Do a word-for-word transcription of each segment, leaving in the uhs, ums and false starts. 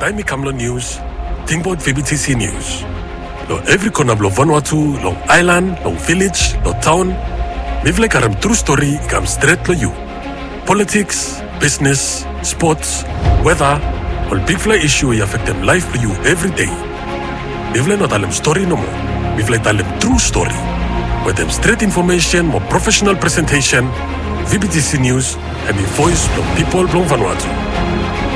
Taem i kam long nius, tingbaot V B T C Nius. Long evri kona blong Vanuatu, long aelan, long vilej, long taon, mifala i karem tru stori i kam stret long yu. Politiks, bisnes, spots, weta, ol bigfala isu we i afektem laef blong yu evri dei. Mifala i no talem stori nomo. Mifala i talem tru stori. Wetem stret infomesen mo profesenal presentesen, V B T C Nius hemi voes blong pipol blong Vanuatu.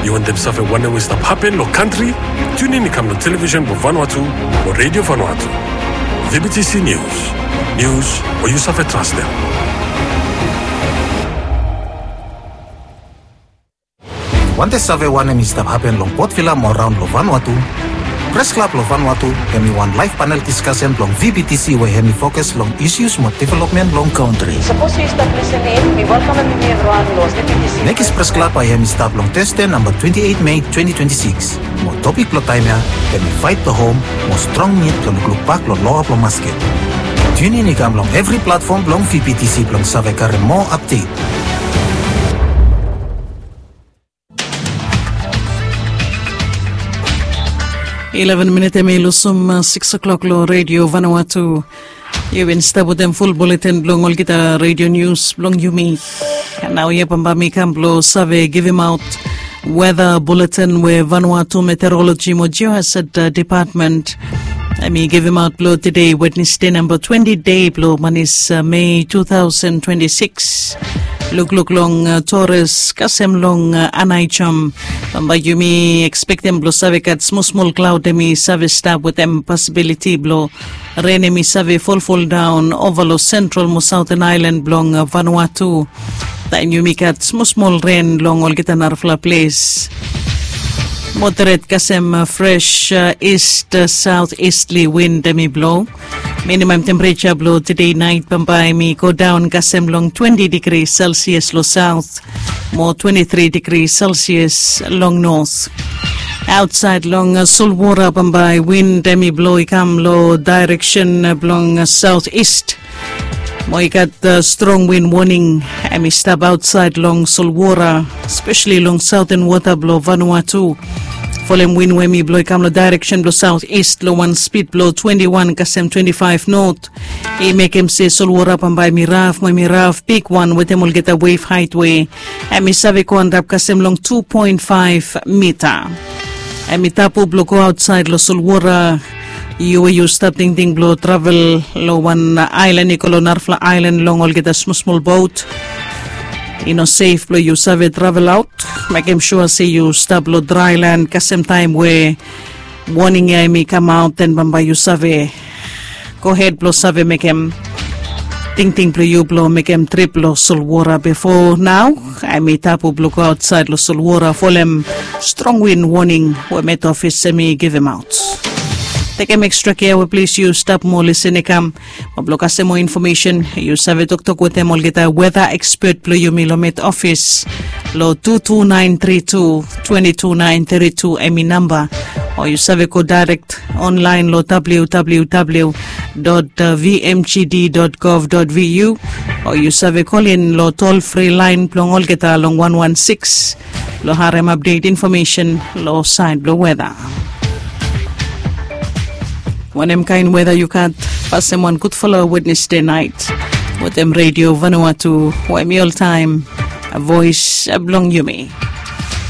Yu wantem save wanem we i stap hapen long kantri? Tunin i kam long televisen blong Vanuatu mo Redio Vanuatu. V B T C Nius. Nius we yu save trastem. Wantem save wanem i stap hapen long Port Vila mo raon long Vanuatu? Pres Klab long Vanuatu hemi wan laef panel diskasen blong V B T C we hemi fokus long isus mo developmen blong kantri. Sapos yu stap lisin in, mi welkamem yumi evriwan long V B T C. Nekis Pres Klab bae hemi stap long Teste namba twenti eit Mei twenti twenti sikis. Mo topik blong taem ya hemi Fight the Home mo strong nid blong lukluk bak long loa blong masket. Tunin i kam long evri platfom blong V B T C blong save karem moa apdet. Ileven minit hemi lusum sikis klok long Redio Vanuatu. Yu bin stap wetem ful buletin blong olgeta redio nius blong yumi. Nao ya bambae mi kam blong save givimaot weta buletin we Vanuatu Meteoroloji mo Geohazard Depatmen hemi givimaot blong tede Wednesde namba twenti dei blong manis Mei tu taosen twenti sikis. Lukluk long Torres kasem long Anaijom. Bambae yumi ekspektem blong save gat smol smol klaod hemi save stap wetem posibiliti blong ren hemi save folfoldaon ova long sentral mo saoten aelan blong Vanuatu. Taem yumi gat smol smol ren long olgeta narafala ples. Moderet kasem fres ist saotistli win hemi blo. Minimam tempereja blo tede naet bambae hemi godaon kasem long twenti digri selsias long saot mo twenti tri digri selsias long not. Aotsaed long solwora bambae win hemi blo i kam long daereksen blong saotist. Mo i gat strong win woning hemi stap aotsaed long solwora, spesali long saoten wota blong Vanuatu. Folem win we hemi blo i kam long daereksen blong saotist long wan spid blong twenti wan kasem twenti faef not. I mekem se solwora bambae hemi raf mo hemi raf bigwan wetem olgeta wef haet we hemi save go antap kasem long tu poen faef mita. Hemi tabu blong go aotsaed long solwora. Yu we yu stap tingting blong travel long wan aelan i go long narafala aelan long olgeta smosmol bot. I no sef blong yu save travel aot. Mekem sua se yu stap long draelan kasem taem we woning ya hemi kamaot, den bambae yu save gohed blong save mekem tingting blong yu blong mekem trip long solwora. Bifo nao hemi tabu blong go aotsaed long solwora folem strong win woning we Met Ofis hemi givimaot. Tekem ekstra kea we ples yu stap mo lisin i kam. Mo blong kasem moa infomesen yu save toktok wetem olgeta weta ekspet blong yumi long Met Ofis long tu tu naen tri tu twenti tu naen tri tu hemi namba. O yu save go daerek onlaen long www dot vmgd dot gov dot vu. O yu save kolin long tol fri laen blong olgeta long wan wan sikis blong harem apdet infomesen long saed blong weta. Wanem kaen weta yu gat? Pasem wan gudfala Wednesde naet wetem Redio Vanuatu we hemi oltaem voes blong yumi.